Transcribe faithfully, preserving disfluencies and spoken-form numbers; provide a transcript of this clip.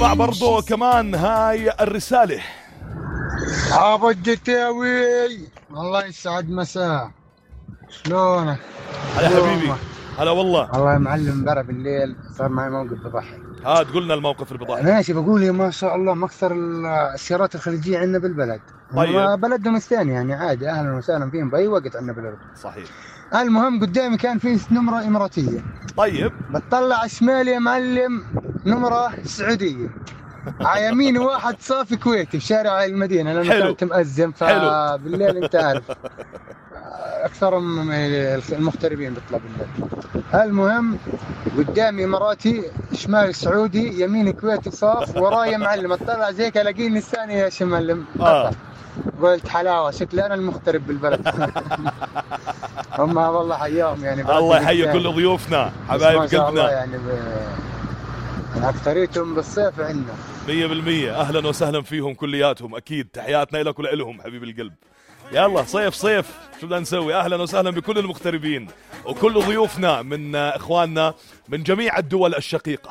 نسمع برضو كمان هاي الرسالة. ابو الجتاوي الله يسعد مساء، شلونك؟ هلا حبيبي. هلا والله. والله يا معلم امبارح بالليل صار معي موقف بضحك. ها تقول لنا الموقف اللي بضحك. ماشي بقول يا ما شاء الله مكثر السيارات الخليجية عندنا بالبلد. طيب. بلدهم الثاني يعني عادي اهلا وسهلا فيهم باي وقت عندنا بالاردن. صحيح. المهم قدامي كان في نمرة اماراتية. طيب. بتطلع شمالي يا معلم نمرة سعودية. على يميني واحد صافي كويتي في شارع المدينة لأنه كانت مأزم فبالليل أنت عارف أكثر من المغتربين بيطلع بالليل. المهم قدامي إماراتي شمالي سعودي يميني كويتي صاف ورايا معلم اطلع زيك الاقيني الثاني يا شمال آه. قلت حلاوة شكلي أنا المغترب بالبلد. هم والله حياهم يعني. الله يحيي كل ضيوفنا حبايب قلبنا يعني ب... أكثريتهم بالصيف عندنا مية بالمية. أهلا وسهلا فيهم كلياتهم أكيد. تحياتنا لك ولهم حبيب القلب. يلا صيف صيف شو بدنا نسوي. أهلا وسهلا بكل المغتربين وكل ضيوفنا من إخواننا من جميع الدول الشقيقة.